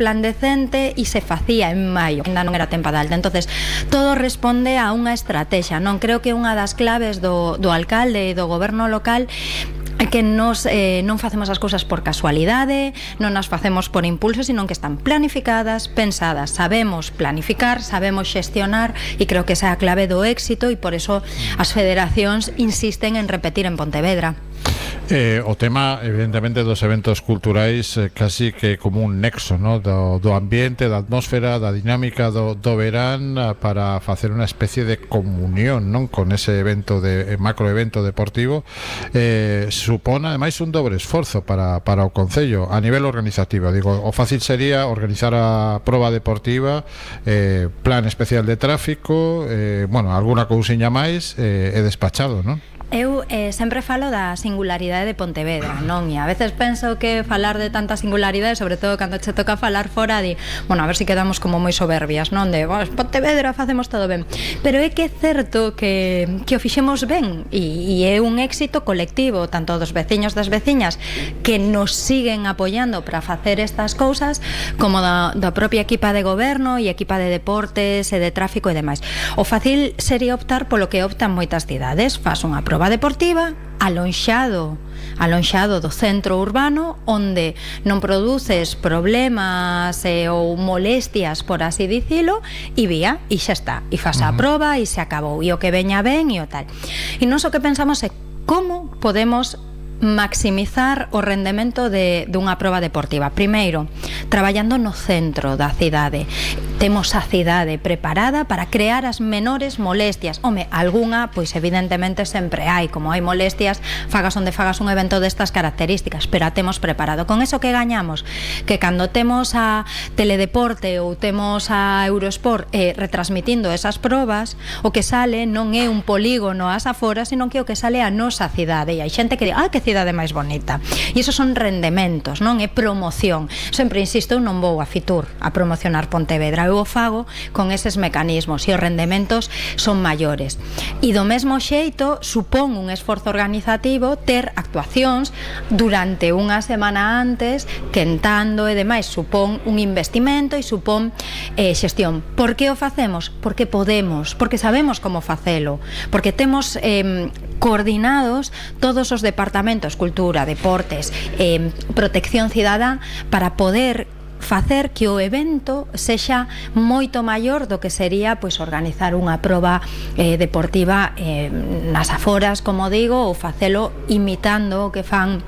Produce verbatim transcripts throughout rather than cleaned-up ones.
resplandecente e se facía en maio, ainda non era tempada alta. Entonces, todo responde a unha estrategia, non? Creo que unha das claves do, do alcalde e do goberno local é que nos, eh, non facemos as cousas por casualidade, non as facemos por impulso, sino que están planificadas, pensadas. Sabemos planificar, sabemos xestionar, e creo que esa é a clave do éxito, e por eso as federacións insisten en repetir en Pontevedra. Eh, o tema, evidentemente, dos eventos culturais eh, casi que como un nexo, ¿no? do, do ambiente, da atmósfera, da dinámica do, do verán, para facer unha especie de comunión, non? Con ese evento de eh, macroevento deportivo. Eh, supón ademais un dobre esforzo para, para o Concello a nivel organizativo. Digo, o fácil sería organizar a proba deportiva, eh, plan especial de tráfico, eh, bueno, alguna cousiña máis, eh, e despachado, non? Eu eh, sempre falo da singularidade de Pontevedra, non? E a veces penso que falar de tanta singularidade, sobre todo cando che toca falar fora, de, bueno, a ver se si quedamos como moi soberbias, non? De, bueno, Pontevedra facemos todo ben. Pero é que é certo que, que o fixemos ben, e, e é un éxito colectivo, tanto dos veciños das veciñas que nos siguen apoiando para facer estas cousas, como da, da propia equipa de goberno e equipa de deportes e de tráfico e demais. O fácil sería optar polo que optan moitas cidades, faz unha proba deportiva alonxado alonxado do centro urbano, onde non produces problemas eh, ou molestias, por así dicilo, e vía, e xa está, e faz a proba e se acabou, e o que veña ben e o tal. E non só que pensamos é como podemos maximizar o rendemento de dunha proba deportiva. Primeiro, traballando no centro da cidade. Temos a cidade preparada para crear as menores molestias. Home, algunha, pois evidentemente sempre hai, como hai molestias, fagas onde fagas un evento destas características, pero a temos preparado. Con eso que gañamos? Que cando temos a Teledeporte ou temos a Eurosport eh, retransmitindo esas probas, o que sale non é un polígono ás aforas, sino que o que sale é a nosa cidade. E hai xente que di, ah, que cidade máis bonita. E iso son rendementos, non é promoción. Sempre insisto, eu non vou a Fitur a promocionar Pontevedra, eu o fago con eses mecanismos e os rendementos son maiores. E do mesmo xeito supón un esforzo organizativo ter actuacións durante unha semana antes, quentando e demais, supón un investimento e supón eh, xestión. Por que o facemos? Porque podemos, porque sabemos como facelo, porque temos eh, coordinados todos os departamentos, cultura, deportes, eh, protección cidadá, para poder facer que o evento sexa moito maior do que sería pois organizar unha proba eh, deportiva eh, nas aforas, como digo, ou facelo imitando o que fan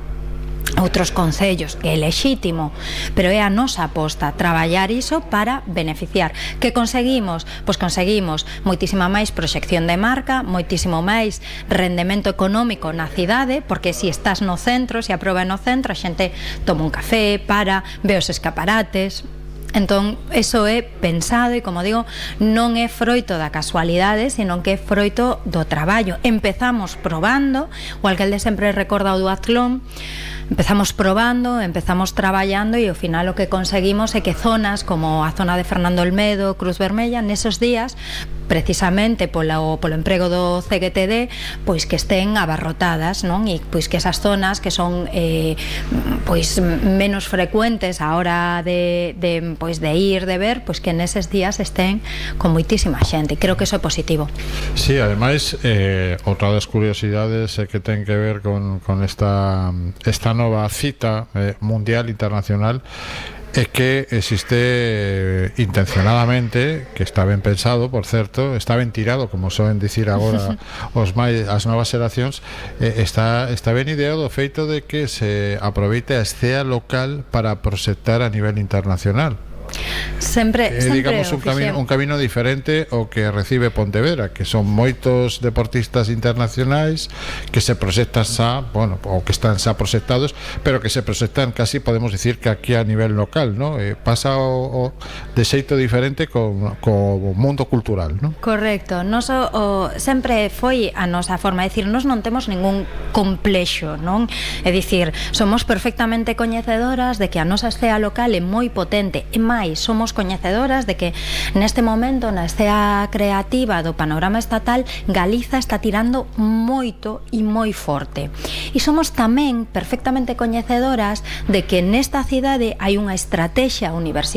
outros concellos, que é lexítimo, pero é a nosa aposta traballar iso para beneficiar. Que conseguimos? Pois conseguimos moitísima máis proxección de marca, moitísimo máis rendemento económico na cidade, porque se estás no centro, se a proba é no centro, a xente toma un café, para, ve os escaparates. Entón, eso é pensado e, como digo, non é froito da casualidade, sino que é froito do traballo. Empezamos probando, o alcalde sempre recorda o duatlón, empezamos probando, empezamos traballando e ao final o que conseguimos é que zonas como a zona de Fernando Olmedo, Cruz Vermella, nesos días, precisamente polo, polo emprego do C G T D, pois que estén abarrotadas, non? E pois que esas zonas que son eh, pois menos frecuentes a hora de, de, pois de ir, de ver, pois que neses días estén con moitísima xente. Creo que eso é positivo. Sí, ademais, eh, outra das curiosidades é que ten que ver con, con esta, esta nova cita eh, mundial, internacional, é que existe eh, intencionadamente, que está ben pensado, por certo, está ben tirado, como soen dicir agora os máis, as novas xeracións, eh, está, está ben ideado o feito de que se aproveite a escea local para proxectar a nivel internacional. Sempre, eh, sempre digamos un camino, un camino diferente ao que recibe Pontevedra, que son moitos deportistas internacionais que se proxectan xa, bueno, ou que están xa proxectados, pero que se proxectan casi, podemos dicir, que aquí a nivel local, ¿no? Eh, pasa o, o de xeito diferente co, co mundo cultural, ¿no? Correcto. Nos o, o, sempre foi a nosa forma, é dicir, nos non temos ningún complexo, non? É dicir, somos perfectamente coñecedoras de que a nosa escea local é moi potente, e máis, somos somos coñecedoras de que neste momento na escena creativa do panorama estatal Galiza está tirando moito e moi forte. E somos tamén perfectamente coñecedoras de que nesta cidade hai unha estrategia universitaria